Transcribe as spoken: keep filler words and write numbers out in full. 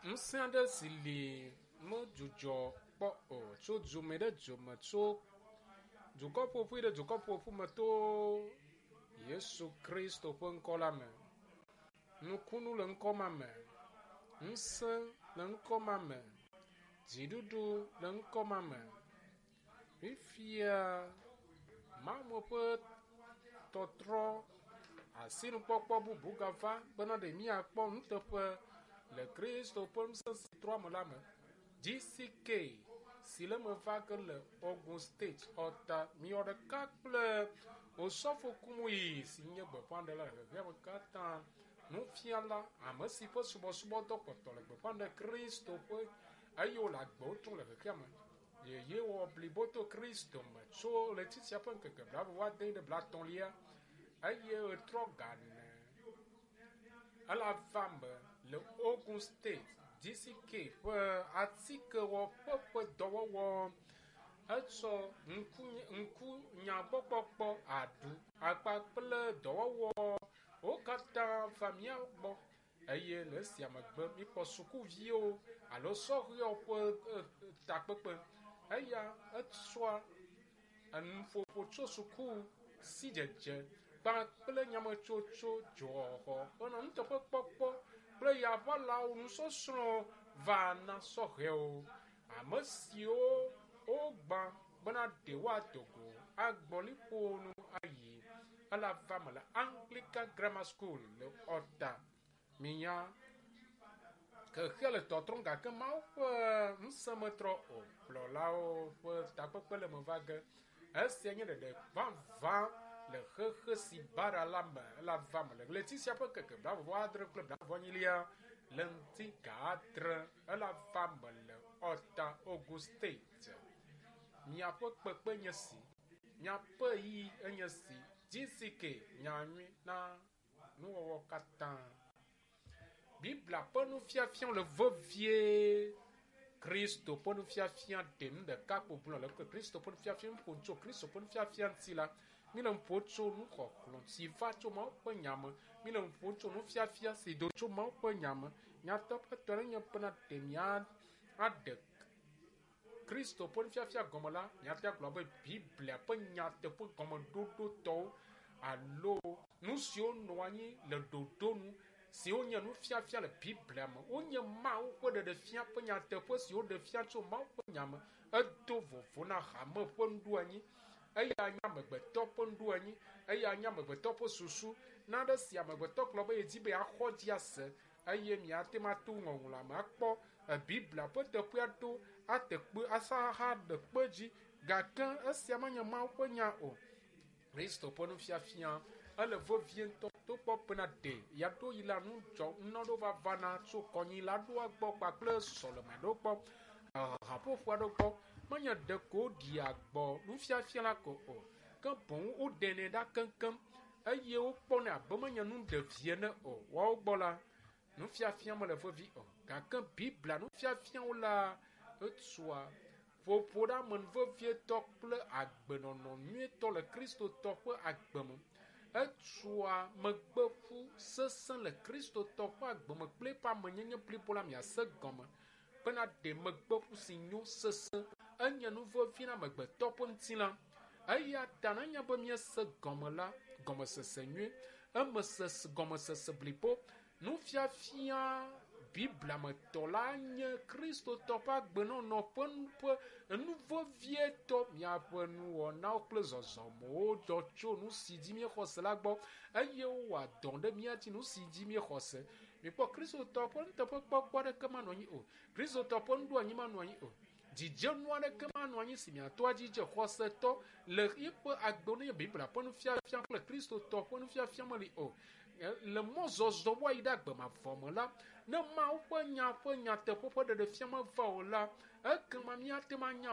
Ŋusẽ aɖe si li medzudzɔ kpɔ o tso dume ɖe dume tso dukɔ ƒoƒu ɖe dukɔ ƒoƒu me to Yesu Kristo ƒe ŋkɔ la me. Nukunu le ŋkɔ ma me. Ŋusẽ le ŋkɔ ma me. Dziɖuɖu le ŋkɔ ma me. Fifia Mawu ƒe tɔtrɔ asinukpɔkpɔ bubu gava bena ɖe míakpɔ nuteƒe le Kristo ƒe ŋusẽ si trɔ ame la me. GCK si le eme va ge le Ogun State Ɔta miwɔ ɖeka kple Osɔfo Kumuyi si nye gbeƒãɖela le xexeame katã. Nufiala ame si ƒe subɔsubɔdɔ kpɔtɔ le gbeƒã ɖe Kristo ƒe eye wòle agbewo trɔm le xexeame. Yeye wɔ blibo to Kristo me tso ɣleti sia ƒe ŋkeke blaeve vɔ ade ɖe blaetɔ̃lia eye ɣetrɔ ga ene. Ele ava me le Ogun State GCK ƒe atikewɔƒe ƒe dɔwɔwɔ. Etsɔ ŋku ŋkunyagbɔkpɔkpɔ aɖu akpa kple dɔwɔwɔ wo katã va mía gbɔ eye le esia megbe míkpɔ sukuviwo alo sɔhɛwo ƒe takpekpe. Eya etsɔa enuƒoƒo tso suku sidzedze kpakple nyametsotso dzɔxɔxɔ henɔ nuteƒekpɔkpɔ kple yaʋalawo nusɔsrɔ̃ va na sɔhɛwo. Ame siwo wogbã bena ɖe woado go agbɔ liƒo nu ayi ele ava me le Anglican Grammar School le Ɔta. Minya xexea le tɔtrɔm gake Mawu ƒe ŋusẽ metrɔ o. Kplɔlawo ƒe takpekpe le eme va ge. Esia nye ɖeɖe vavã le xexe si baɖa la me ele ava me le ɣleti sia ƒe ŋkeke blaeve vɔ adre kple blaeve vɔ enyilia le ŋdi ga adre ele ava me le Ɔta Ogun State. Miaƒe kpekpe nye si, miaƒe ɣeyiɣi enye si. GCK nyanyui na nuwɔwɔ katã. Biblia ƒe nufiafia le vevie. Kristo ƒe nufiafia ɖe nu ɖeka kpo gblɔ le Kristo ƒe nufiafia ƒo tso Kristo ƒe nufiafia ŋuti la, míle nu ƒom tso nuxɔxlɔ̃ si va tso Mawu ƒe nya me. Míle nu ƒom tso nufiafia si do tso Mawu ƒe nya me. Nyateƒetɔ ɖe nye bena ɖe mía aɖe Kristo ƒe nufiafia gɔme la, míate agblɔ be Biblia ƒe nyateƒe gɔmeɖoɖotɔwo alo nu siwo nɔ anyi le ɖoɖo nu siwo nye nufiafia le Biblia me. Wonye Mawu ƒe ɖeɖefia ƒe nyateƒe siwo ɖe fia tso Mawu ƒe nya me. Edo vovo na hame ƒe nuɖoanyi. Eya nye amegbetɔ ƒe nuɖoanyi. Eya nye amegbetɔ ƒe susu. Nane si amegbetɔ gblɔ be yedi be yeaxɔ dzi ase eye miate ŋu ato ŋɔŋlɔa me akpɔ Biblia ƒe teƒea ɖo ate kpe asa ahaɖe kpe dzi gake esia menye Mawu ƒe nya o. Kristo ƒe nufiafia ele vevie ŋutɔ togbɔ bena ɖe yeaɖo yi la nudzɔ nunɔɖewo va vana tso kɔnyila ɖoa gbɔ kpakple sɔleme ɖewo gbɔ haƒoƒo aɖewo gbɔ menye ɖeko woɖia gbɔ nufiafia la ko o ke boŋ woɖenɛ ɖa keŋkeŋ eye wokpɔnɛ abe menye nu ɖevi ene o. Woawo gbɔ la nufiafia mele vevi o gake Biblia nufiafiawo la etua ƒoƒo ɖe ame vevietɔ kple agbenɔnɔ nyuietɔ le Kristotɔ ƒe agbe me. Etua megbeƒu sesẽ le Kristotɔ ƒe agbe me kple eƒe amenyenye blibo la miase gɔme bena ɖe megbeƒu si nyo sesẽ enye nu vevi na amegbetɔ ƒe ŋutilã. Eya ta nenye be míese gɔme la, gɔmesese nyui, emesese gɔmesese blibo, nufiafia Biblia me tɔ la nye Kristotɔ ƒe agbenɔnɔ ƒe ƒe nu vevietɔ. Miaƒe nuwɔnawo kple zɔzɔmewo dzɔ tso nu si dzi míexɔ se la gbɔ eye wowɔa dɔ ɖe mía dzi nu si dzi míexɔ se. Mikpɔ Kristotɔ ƒe nuteƒekpɔkpɔ aɖeke manɔ anyi o. Kristotɔ ƒe nuɖoanyi manɔ anyi o. Dzidzenu aɖeke manɔ anyi si miato adzidze xɔsetɔ le eƒe agbe ne Biblia ƒe nufiafia kple Kristotɔ ƒe nufiafia meli o. Le mɔzɔzɔ woayi ɖe agbe mavɔ me la, ne Mawu ƒe nya ƒe nyateƒe ƒe ɖeɖefia meva o la, ekema míate ŋu anya